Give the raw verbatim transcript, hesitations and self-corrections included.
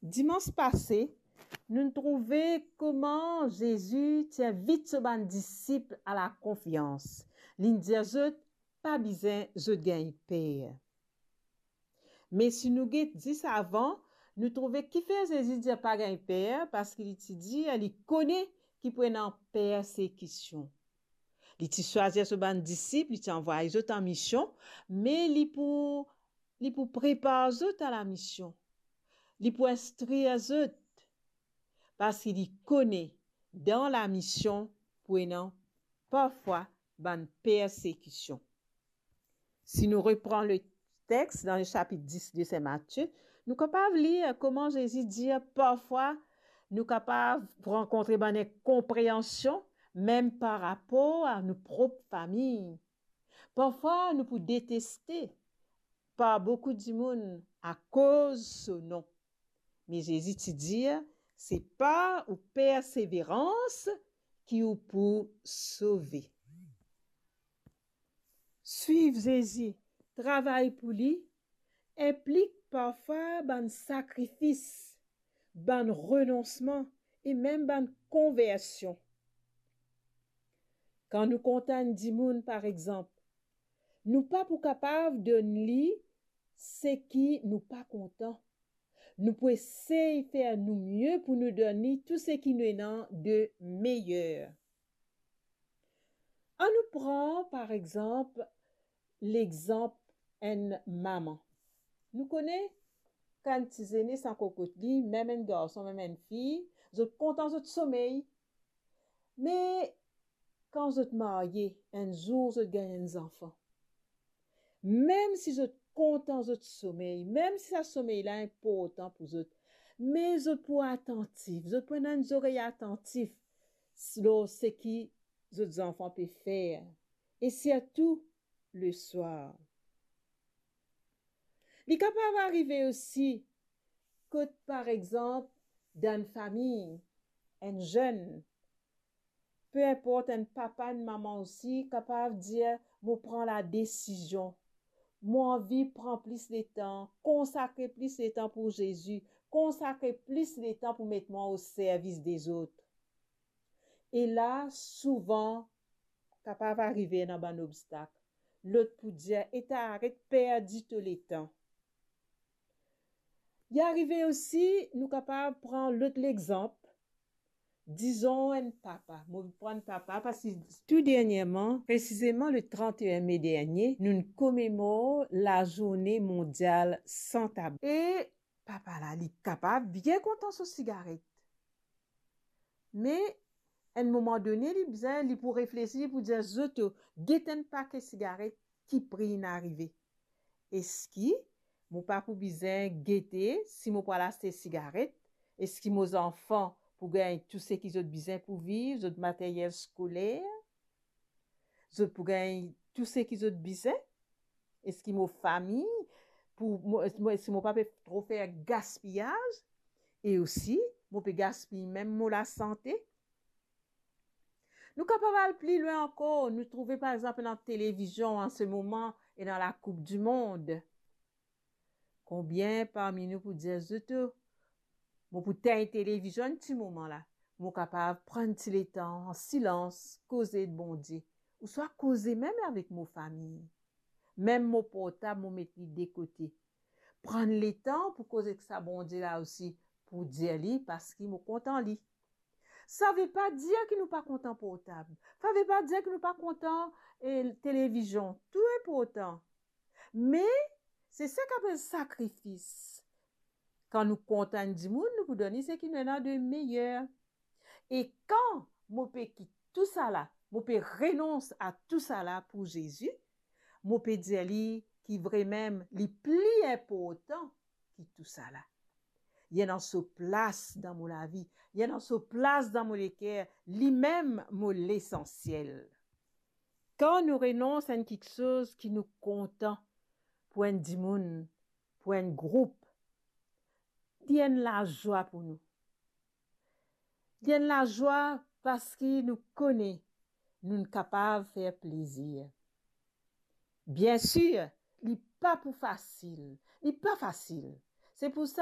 Dimans pase, nou trouve kouma Zezi ti invit so bann disip a lakonfians. Li dir zot, pa bizin zot gagn per. Me si nou get zis avan, nou trouve kifer Zezi dir pa gagn per, parski li ti dir li kone ki pou ena persekision. Li ti swazir so bann disip, li ti anvway zot an mision, me li pou, li pou prepar zot a lamision. Li pou instrir zot, parski li kone dan lamision pou ena parfwa bann persekision. Si nou repran letex dan le sapit dis de Sin Matie, nou kapav lir kouma Zezi dir parfwa nou kapav rankontre bann inkonpreansion, mem par rapor a nou prop fami. Parfwa nou pou deteste par boukou dimoun akoz so nom. Me Zezi ti dir, se par ou perseverans ki ou pou sove. Swiv Zezi, travay pou li, inplik parfwa bann sakrifis, bann renonsman e mem bann konversion. Kan nou kontan enn dimoun, par exanp, nou pa pou kapav donn li seki nou pa kontan. Nou pou esey fer nou mie pou nou donn li tou seki nou ena de meyer. Annou pran, par exanp, lexanp enn mama. Nou kone, kan ti zenes ankor kot li, mem enn garson, mem enn fi, zot kontan zot somey. Me kan zot marye, enn zour zot gagn enn zanfan. Mem si zot kontan zot somey, mem si sa somey la inportan pou zot, me zot pou atantif, zot pou ena enn zorey atantif lor seki zot zanfan pe fer, e sirtou leswar. Li kapav arive osi kot, par exanp, dan enn fami, enn zenn, pe inport, enn papa, enn mama osi, kapav dir, mo pran ladesizion, mo anvi pran plis letan, konsakre plis letan pou Zezi, konsakre plis letan pou met mwa o servis dezot. E la, souvan, kapav arive ena bann obstak. Lot pou dir, eta, aret perdi to letan. Li arive osi, nou kapav pran lot lexanp, dizon enn papa. Mo pran papa parski tou derniereman, presizeman le trant e enn me dernie, nou komemor lazourne mondial san tabak. E papa la, li kapav bien kontan so sigaret. Me enn moman done, li bizin, li pou reflesi, li pou dir, zot, get enn pake sigaret, ki pri inn arive. Eski mo pa pou bizin gete si mo pou al aste sigaret? Eski mo zanfan pou gagn tou seki zot bizin pou viv, zot materyel skoler? Zot pou gagn tou seki zot bizin? Eski mo fami pou, mo, mo, eski mo pa pe tro fer gaspiyaz? E osi, mo pe gaspiy mem mo lasante? Nou kapav al pli lwin ankor, nou trouve par exanp dan televizion an se moman e dan Lakoup di Mond. Konbien parmi nou pou dir, zot, mo pou tegn televizion ti moman la, mo kapav pran ti letan an silans, koze ek Bondie, ouswa koze mem avek mo fami. Mem mo portab, mo met li de kote. Pran letan pou koz ek sa Bondie la osi, pou dir li, parski mo kontan li. Sa ve pa dir ki nou pa kontan portab. Sa ve pa dir ki nou pa kontan, eh, televizion. Tou inportan. Me, se sa ki apel sakrifis. Kan nou kontan enn dimoun, nou pou donn li seki nou ena de meyer. E kan mo pe kit tousala, mo pe renons a tousala pou Zezi, mo pe dir li ki vremem li pli inportan ki tousala. Li ena so plas dan mo lavi, li ena so plas dan mo leker, limem mo lesansiel. Kan nou renons enn kiksoz ki nou kontan pou enn dimoun, pou enn group, li enn lazwa pou nou. Li enn lazwa parski nou kone nou kapav fer plezir. Biensir, li pa pou fasil. Li pa fasil. Se pou sa